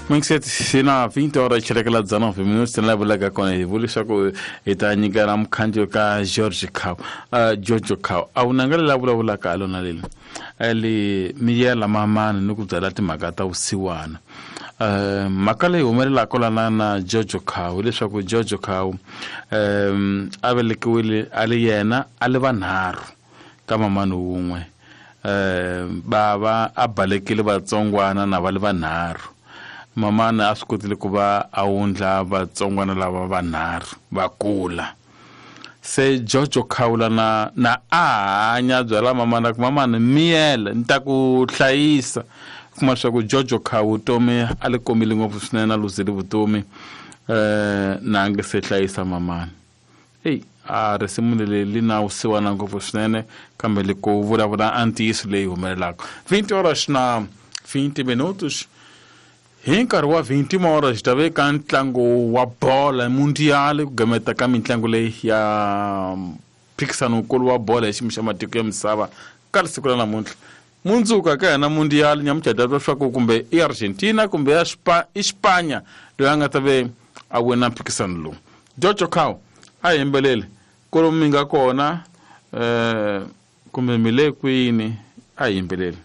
Minxet sina 20 horas xilekela 19 minutos la vulaka kona hi vula leswaku hi ta nyikela mukhandziyo ka George Cow George Cow a wu nanga lela vulavulaka ha lona leli li miyela mamani ni ku byala timhaka ta vusiwana. Mhaka leyi humelelaka lana na George Cow hileswaku George Cow a velekiwile a li yena a li vanharhu ka mamani wun'we. Bava a balekile vatsongwana na va li vanharhu. Mamani a swi kotile ku va a wundla vatsongwana lava vanharhu va kula. Se Jojo Khawula na na a hanya byala mamana ku mamani miyela ni ta ku hlayisa. Kuma leswaku Jojo Khawu vutomi a li komile ngopfu swinene a luzile vutomi na a nge se hlayisa mamani. Eyi a risimu leri li na vusiwana ngopfu swinene kambe li ku vulavula a ntiyiso leyi humelelaka. 20 horas na 20 minutos. Hi nkarhi wa 21 horas hi ta ve ka ntlangu wa bola mundial ku gameta ka mitlangu leyi ya mphikisano wukulu wa bola hi xiyimo xa matiko ya misava ka siku ra namuntlha. Mundzuku ka hina mundial nyamuntlha hi ta twa leswaku kumbe i Argentina kumbe ya i Spanya loyi a nga ta ve a wina mphikisano lowu. Jojo Cow a yimbeleli kolomu mi nga kona kumbe mi le kwini a yimbeleli.